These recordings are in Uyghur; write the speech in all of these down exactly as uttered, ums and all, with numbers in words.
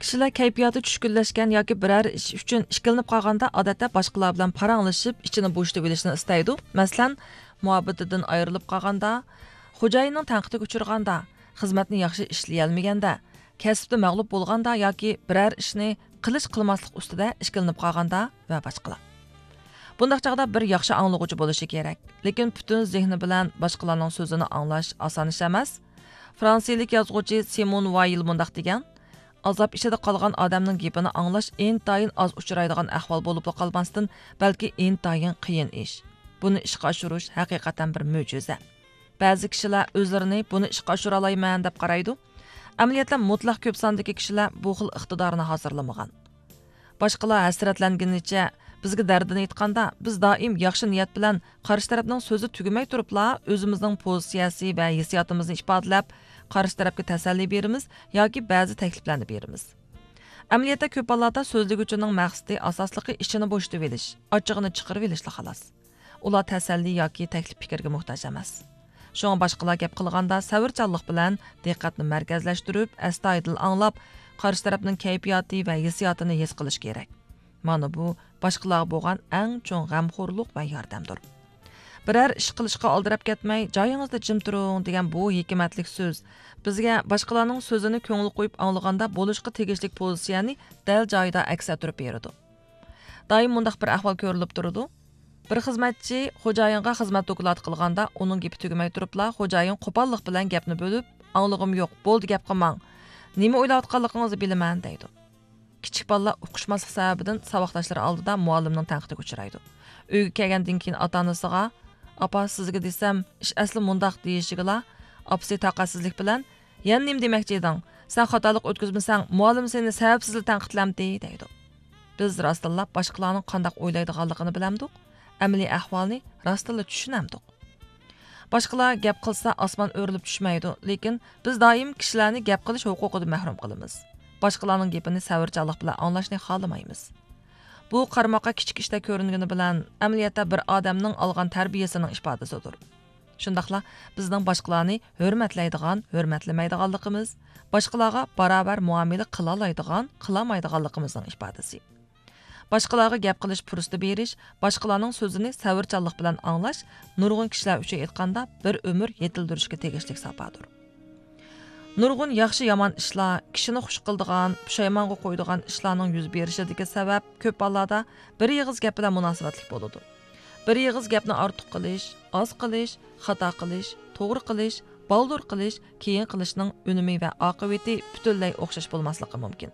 كىشىلەر كەيپىياتى چۈشكۈنلەشكەن ياكى بىرەر ئىش ئۈچۈن ئىككىلىنىپ قالغاندا، ئادەتتە باشقىلار بىلەن پاراڭلىشىپ، ئىچىنى بوشىتىۋېلىشنى ئىستەيدۇ. مەسىلەن، مۇھەببىتىدىن ئايرىلىپ قالغاندا، خوجايىننىڭ تەنقىدىگە ئۇچرىغاندا، خىزمەتنى ياخشى ئىشلىيەلمىگەندە، كەسىپتە مەغلۇپ بولغاندا ياكى بىرەر ئىشنى قىلىش قىلماسلىق ئۈستىدە ئىككىلىنىپ قالغاندا ۋە باشقىلار. بۇنداق چاغدا بىر ياخشى ئاڭلىغۇچى بولۇشى كېرەك. لېكىن پۈتۈن زېھنى بىلەن باشقىلارنىڭ سۆزىنى ئاڭلاش ئاسان ئىش ئەمەس. فرانسىيىلىك يازغۇچى سىمون ۋايل مۇنداق دېگەن: «ئازاب ئىچىدە قالغان ئادەمنىڭ گېپىنى ئاڭلاش ئىنتايىن ئاز ئۇچرايدىغان ئەھۋال بولۇپلا قالماستىن، بەلكى ئىنتايىن قىيىن ئىش. بۇنى ئىشقا ئاشۇرۇش ھەقىقەتەن بىر مۆجىزە.» بەزى كىشىلەر ئۆزلىرىنى بۇنى ئىشقا ئاشۇرالايمەن دەپ قارايدۇ. ئەمەلىيەتتە مۇتلەق كۆپ ساندىكى كىشىلەر بۇ خىل ئىقتىدارنى ھازىرلىمىغان. باشقىلار ھەسرەتلەنگىنىچە بىزگە دەردىنى ئېيتقاندا، بىز دائىم ياخشى نىيەت بىلەن قارشى تەرەپنىڭ سۆزى تۈگىمەي تۇرۇپلا ئۆزىمىزنىڭ پوزىتسىيەسى ۋە ھېسسىياتىمىزنى ئىپادىلەپ، قارشى تەرەپكە تەسەللى بېرىمىز ياكى بەزى تەكلىپلەرنى بېرىمىز. ئەمەلىيەتتە كۆپ ھاللاردا سۆزلىگۈچىنىڭ مەقسىتى ئاساسلىقى ئىچىنى بوشىتىۋېلىش، ئاچچىقىنى چىقىرىۋېلىشلا خالاس. ئۇلار تەسەللى ياكى تەكلىپ پىكىرگە موھتاج ئەمەس. شۇڭا باشقىلار گەپ قىلغاندا سەۋرچانلىق بىلەن دىققەتنى مەركەزلەشتۈرۈپ، ئەستايىدىل ئاڭلاپ، قارشى تەرەپنىڭ كەيپىياتى ۋە ھېسسىياتىنى ھېس قىلىش كېرەك. مانا بۇ باشقىلارغا بولغان ئەڭ چوڭ غەمخورلۇق ۋە ياردەمدۇر. «بىرەر ئىش قىلىشقا ئالدىراپ كەتمەي، جايىڭىزدا جىم تۇرۇڭ» دېگەن بۇ ھېكمەتلىك سۆز بىزگە باشقىلارنىڭ سۆزىنى كۆڭۈل قويۇپ ئاڭلىغاندا بولۇشقا تېگىشلىك پوزىتسىيەنى دەل جايىدا ئەكس ئەتتۈرۈپ بېرىدۇ. دائىم مۇنداق بىر ئەھۋال كۆرۈلۈپ تۇرىدۇ. بىر خىزمەتچى خوجايىنغا خىزمەت دوكلاتى قىلغاندا، ئۇنىڭ گېپى تۈگىمەي تۇرۇپلا، خوجايىن قوپاللىق بىلەن گەپنى بۆلۈپ، «ئاڭلىغۇم يوق، بولدى، گەپ قىلماڭ. نېمە ئويلاۋاتقانلىقىڭىزنى بىلىمەن» دەيدۇ. كىچىك بالىلار ئۇقۇشماسلىق سەۋەبىدىن ساۋاقداشلىرى ئالدىدا مۇئەللىمنىڭ تەنقىدىگە ئۇچرايدۇ. ئۆيگە كەلگەندىن كېيىن ئاتا ئانىسىغا، «ئاپا، سىزگە دېسەم، ئىش ئەسلى مۇنداق» دېيىشىگىلا، ئاپىسى تاقەتسىزلىك بىلەن، «يەنە نېمە دېمەكچى ئىدىڭ؟ سەن خاتالىق ئۆتكۈزمىسەڭ، مۇئەللىم سېنى سەۋەبسىزلا تەنقىدلەمدى» دەيدۇ. بىز راستتىنلا باشقىلارنىڭ قانداق ئويلايدىغانلىقىنى بىلەمدۇق، ئەمەلىي ئەھۋالنى راستتىنلا چۈشىنەمدۇق. باشقىلار گەپ قىلسا، ئاسمان ئۆرۈلۈپ چۈشمەيدۇ، لېكىن بىز دائىم كىشىلەرنى گەپ قىلىش ھوقۇقىدىن مەھرۇم قىلىمىز. باشقىلارنىڭ گېپىنى سەۋرچانلىق بىلەن ئاڭلاشنى خالىمايمىز. بۇ قارىماققا كىچىك ئىشتەك كۆرۈنگىنى بىلەن، ئەمەلىيەتتە بىر ئادەمنىڭ ئالغان تەربىيەسىنىڭ ئىپادىسىدۇر. شۇنداقلا بىزنىڭ باشقىلارنى ھۆرمەتلەيدىغان، ھۆرمەتلىمەيدىغانلىقىمىز، باشقىلارغا باراۋەر مۇئامىلە قىلالايدىغان، قىلالمايدىغانلىقىمىزنىڭ ئىپادىسى. باشقىلارغا گەپ قىلىش پۇرسىتى بېرىش، باشقىلارنىڭ سۆزىنى سەۋرچانلىق بىلەن ئاڭلاش نۇرغۇن كىشىلەر ئۈچۈن ئېيتقاندا بىر ئۆمۈر يېتىلدۈرۈشكە تېگىشلىك ساپادۇر. نۇرغۇن ياخشى-يامان ئىشلار، كىشىنى خۇش قىلىدىغان، پۇشايمانغا قويىدىغان ئىشلارنىڭ يۈز بېرىشىدىكى سەۋەب كۆپ ھاللاردا بىر ئېغىز گەپ بىلەن مۇناسىۋەتلىك بولىدۇ. بىر ئېغىز گەپنى ئارتۇق قىلىش، ئاز قىلىش، خاتا قىلىش، توغرا قىلىش، بالدۇر قىلىش، كېيىن قىلىشنىڭ ئۈنۈمى ۋە ئاقىۋىتى پۈتۈنلەي ئوخشاش بولماسلىقى مۇمكىن.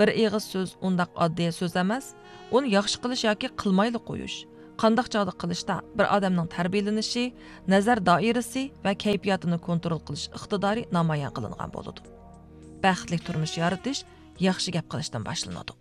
بىر ئېغىز سۆز ئۇنداق ئاددىي سۆز ئەمەس، ئۇنى ياخشى قىلىش ياكى قىلمايلا قويۇش، قانداق چاغدا قىلىشتا بىر ئادەمنىڭ تەربىيەلىنىشى، نەزەر دائىرىسى ۋە كەيپىياتىنى كونترول قىلىش ئىقتىدارى نامايان قىلىنغان بولىدۇ. بەختلىك تۇرمۇش يارىتىش ياخشى گەپ قىلىشتىن باشلىنىدۇ.